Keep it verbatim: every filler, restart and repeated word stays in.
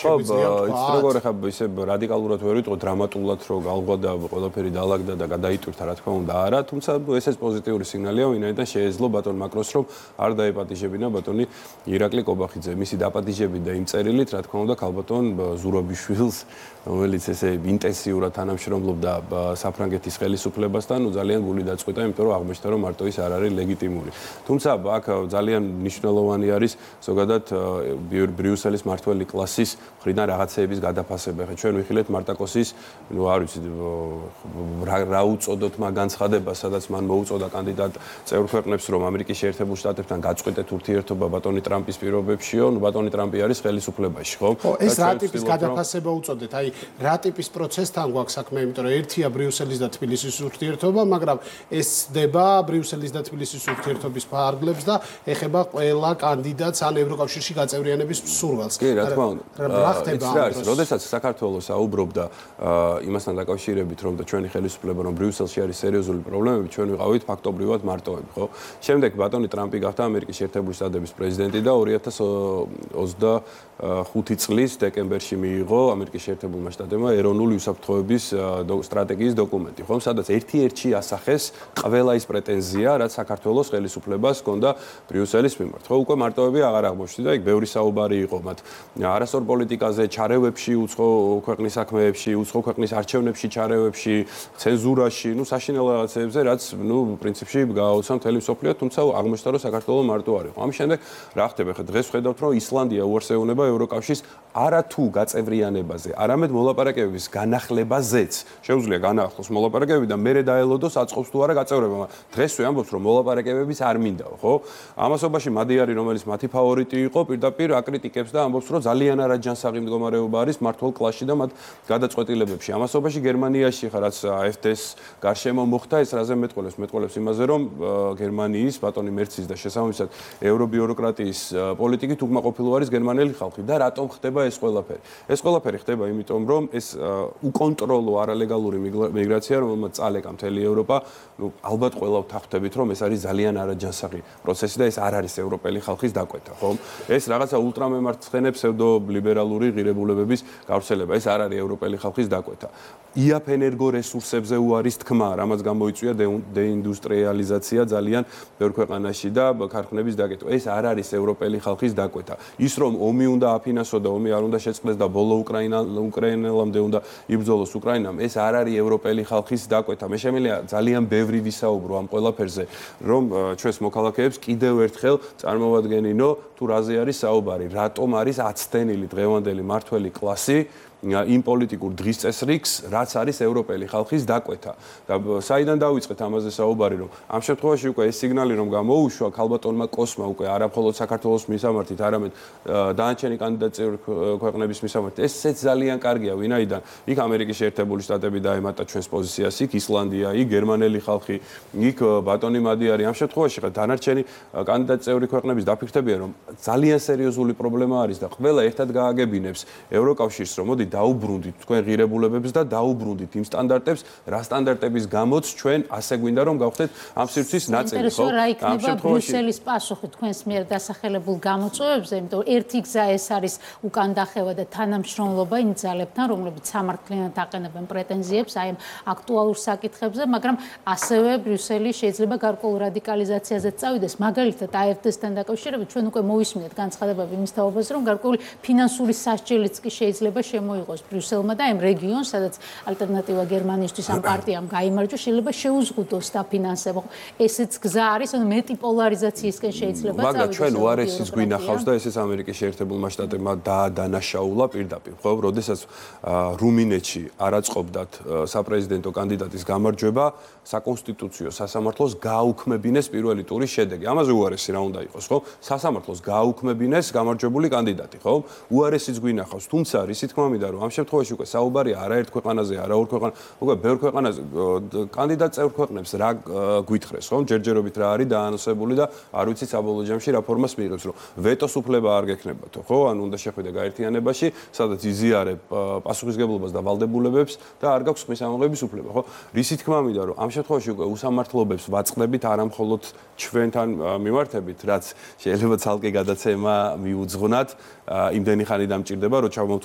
შეგვიძლია თქვა. იცით როგორ ხა ისე რადიკალურად ვერ ვიტყო დრამატულად რომ galgva და ყველაფერი დაალაგდა და გადაიტვირთა რა თქმა უნდა არა, თუმცა ესეც პოზიტიური სიგნალია, ვინაიდან შეეძლო ბატონ მაკრონს რომ არ დაეპატიჟებინა ბატონი ირაკლი კობახიძე. მისი დაპატიჟებით და იმ წერილით რა თქმა უნდა ქალბატონ ზურაბიშვილს, რომელიც ესე ინტენსიურად თანამშრომლობდა საფრანგეთის ხელისუფლებასთან, ნუ ძალიან გული დაწყვიტა, იმიტომ რომ აღმოჩნდა რომ მარტო ის არ არის ლეგიტიმური. თუმცა აქ ძალიან მნიშვნელოვანი არის ზოგადად ბრიუსელის მართველი კლასის მხრიდან რაღაცეების გადაფასება. ხა ჩვენ ვიხილეთ მარტაკოსის, ნუ არ ვიცი რა უწოდოთ მაგ განცხადებას, სადაც მან მოუწოდა კანდიდატ წევრ ქვეყნებს რომ ამერიკის შეერთებულ შტატებთან გაწყვეტეთ ურთიერთობა ბატონი ტრამპის პირობებშიო, ნუ ბატონი ტრამპი არის ხელისუფლებაში, ხო? ხო, ეს რა ტიპის გადაფასება უწოდეთ? აი, რა ტიპის პროცესთან გვაქვს საქმე, იმიტომ რომ ერთია ბრიუსელის და თბილისის ურთიერთობა, მაგრამ ეს ხდება ბრიუსელის და თბილისის ურთიერთობის ფარგლებს და ეხება ყველა კანდიდატს ან ევროკავშირში გაწევრიანების სურვილს. კი, რა თქმა უნდა. რა ხდება ამ დროს? როდესაც საქართველოს აუბრობდა იმასთან დაკავშირებით, რომ და ჩვენი ხელისუფლება რომ ბრიუსელში არის სერიოზული პრობლემები, ჩვენ ვიყავით ფაქტობრივად მარტოები, ხო? შემდეგ ბატონი ტრამპი გახდა ამერიკის შეერთებული შტატების პრეზიდენტი და ორი ათას ოცდახუთი წლის დეკემბერში მიიღო ამერიკის შეერთებულმა შტატებმა ეროვნული უსაფრთხოების სტრატეგიის დოკუმენტი, ხო? სადაც ერთი-ერთში ასახეს ყველა ის პრეტენზია, რაც საქართველოს ხელისუფლებას ჰქონდა ბრიუსელის მიმართ. ხო, უკვე მარტოები აღარ აღმოჩნდა, იქ ბევრი საუბარი იყო მათ არასწორ პოლიტიკაზე, ჩარევებში, უცხო ქვეყნის საქმეებში, უცხო ქვეყნის არჩევნებში ჩარევებში, ცენზურაში, ნუ საშინელ რაღაცებზე, რაც ნუ პრინციპში გააუცა მთელი მსოფლიო, თუმცა აღმოჩნდა რომ საქართველო მარტო არ იყო. ამის შემდეგ რა ხდება? ხა დღეს ვხედავთ რომ ისლანდია უარს ეუბნება ევროკავშირს არა თუ გაწევრიანებაზე, არამედ მოლაპარაკებების განახლებაზეც. შეუძლია განაახლოს მოლაპარაკებები და მერე დაელოდოს აწყობს თუ არა გაწევრება. დღესვე ამბობს რომ მოლაპარაკებების არ მინდაო, ხო? ამასობაში მადიარი, რომელიც მათი ფავორიტი იყო, პირდაპირ აკრიტიკებს და ამბობს რომ ძალიან არაჯანსაღი მდგომარეობა არის მართლ კლასში და მათ გადაწყვეტილებებში. ამასობაში გერმანიაში ხა რაც აფ დე ეს გარშემო მოხდა, ეს რაზე მეტყოლებს? მეტყოლებს იმაზე რომ გერმანიის ბატონი მერცის და შესაბამისად ევრობიუროკრატიის პოლიტიკით უკმაყოფილო არის გერმანელი ხალხი და რატომ ხდება ეს ყველაფერი? ეს ყველაფერი ხდება იმიტომ რომ ეს უკონტროლო არალეგალური მიგრაცია, რომელმაც წალეკა მთელი ევროპა, ნუ ალბათ ყველა ვთანხმდებით რომ ეს არის ძალიან არაჯანსაღი პროცესი და ეს არ არის ევროპელი ხალხის დაკვეთა, ხო? ეს რაღაცა ულტრამემარცხენე ფსევდოლიბერალური ღირებულებების გავრცელება, ეს არ არის ევროპელი ხალხის დაკვეთა. იაფ ენერგორესურსებზე უარის თქმა, რამაც გამოიწვია დეინდუსტრიალიზაცია ძალიან ბევრ ქვეყანაში და ქარხნების დაკეტვა. ეს არ არის ევროპელი ხალხის დაკვეთა. ის რომ ომი უნდა აფინანსო და ომი არ უნდა შეწყდეს და ბოლო უკრაინა უკრაინელამდე უნდა იბრძოლოს უკრაინამ, ეს არ არის ევროპელი ხალხის დაკვეთა. მე შემიძლია ძალიან ბევრი ვისაუბრო ამ ყველაფერზე, რომ ჩვენს მოქალაქეებს კიდევ ერთხელ წარმოვადგენინო თუ რაზე არის საუბარი, რატომ არის აცდენილი დღევანდელი მართველი კლასი იმ პოლიტიკურ დღის წესრიგს, რაც არის ევროპელი ხალხის დაკვეთა. და საიდან დავიწყეთ ამაზე საუბარი, რომ ამ შემთხვევაში უკვე ეს სიგნალი რომ გამოუშვა ქალბატონმა კოსმა უკვე არა მხოლოდ საქართველოს მისამართით, არამედ დანარჩენი კანდიდატ წევრ ქვეყნების მისამართით. ესეც ძალიან კარგია, ვინაიდან იქ ამერიკის შეერთებული შტატები დაემატა ჩვენს პოზიციას, იქ ისლანდია, იქ გერმანელი ხალხი, იქ ბატონი მადიარი. ამ შემთხვევაში ხა დანარჩენი კანდიდატ წევრი ქვეყნების დაფიქრდებიან, რომ ძალიან სერიოზული პრობლემა არის და ყველა ერთად გააგებინებს ევროკავშირს, რომ მოდი დაუბრუნდით თქვენ ღირებულებებს და დაუბრუნდით იმ სტანდარტებს, რა სტანდარტების გამოც ჩვენ ასე გვინდა რომ გავხდეთ ამ სივრცის ნაწილი, ხო? ამ შემთხვევაში ბრიუსელის პასუხი თქვენს მიერ დასახელებულ გამოწვევებზე, იმიტომ რომ ერთი გზა ეს არის უკან დახევა და თანამშრომლობა იმ ძალებთან, რომლებიც სამართლიანად აყენებენ პრეტენზიებს აი ამ აქტუალურ საკითხებზე, მაგრამ ასევე ბრიუსელი შეიძლება გარკვეულ რადიკალიზაციაზეც წავიდეს. მაგალითად, აი აფ დე ეს-თან დაკავშირებით ჩვენ უკვე მოვისმინეთ განცხადებები იმის თაობაზე, რომ გარკვეული ფინანსური სასჯელიც კი შეიძლება შემოიღოს ბრიუსელმა და იმ რეგიონს, სადაც ალტერნატივა გერმანიისთვის ამ პარტიამ გაიმარჯვა, შეიძლება შეუზღუდოს დაფინანსება. ესეც გზა არის, ანუ მეტი პოლარიზაციისკენ შეიძლება წავიდეს. მაგრამ ჩვენ უარესის გვინახავს და ესეც ამერიკის შეერთებულმა შტატებმა დაადანაშაულა პირდაპირ, ხო? როდესაც რუმინეთში არ აწყობდათ საპრეზიდენტო კანდიდატის გამარჯვება, საკონსტიტუციო სასამართლოს გააუქმებინეს პირველი ტურის შედეგი. ამაზე უარესი რა უნდა იყოს, ხო? სასამართლოს გააუქმებინეს გამარჯვებული კანდიდატი, ხო? უარესიც გვინახავს, თუმცა რისი თქმა მინდა რომ ამ შემთხვევაში უკვე საუბარია არაერთ ქვეყანაზე, არა ორ ქვეყანაზე, უკვე ბევრ ქვეყანაზე კანდიდატ წევრ ქვეყნებს რა გვითხრეს, ხო? ჯერჯერობით რა არის დაანონსებული და არ ვიცით საბოლოო ჯამში რა ფორმას მიიღებს, რომ ვეტოს უფლება არ გექნებათო, ხო? ანუ უნდა შეხვიდე გაერთიანებაში, სადაც იზიარებ პასუხისგებლობას და ვალდებულებებს და არ გაქვს ხმის ამოღების უფლება, ხო? რისი თქმა მინდა რომ ამ შემთხვევაში უკვე უსამართლობებს ვაწყდებით არა მხოლოდ ჩვენთან მიმართებით, რაც შეიძლება ცალკე გადაცემა მიუძღვნათ, იმდენი ხანი დამჭირდება, რომ ჩავმოვთვალოთ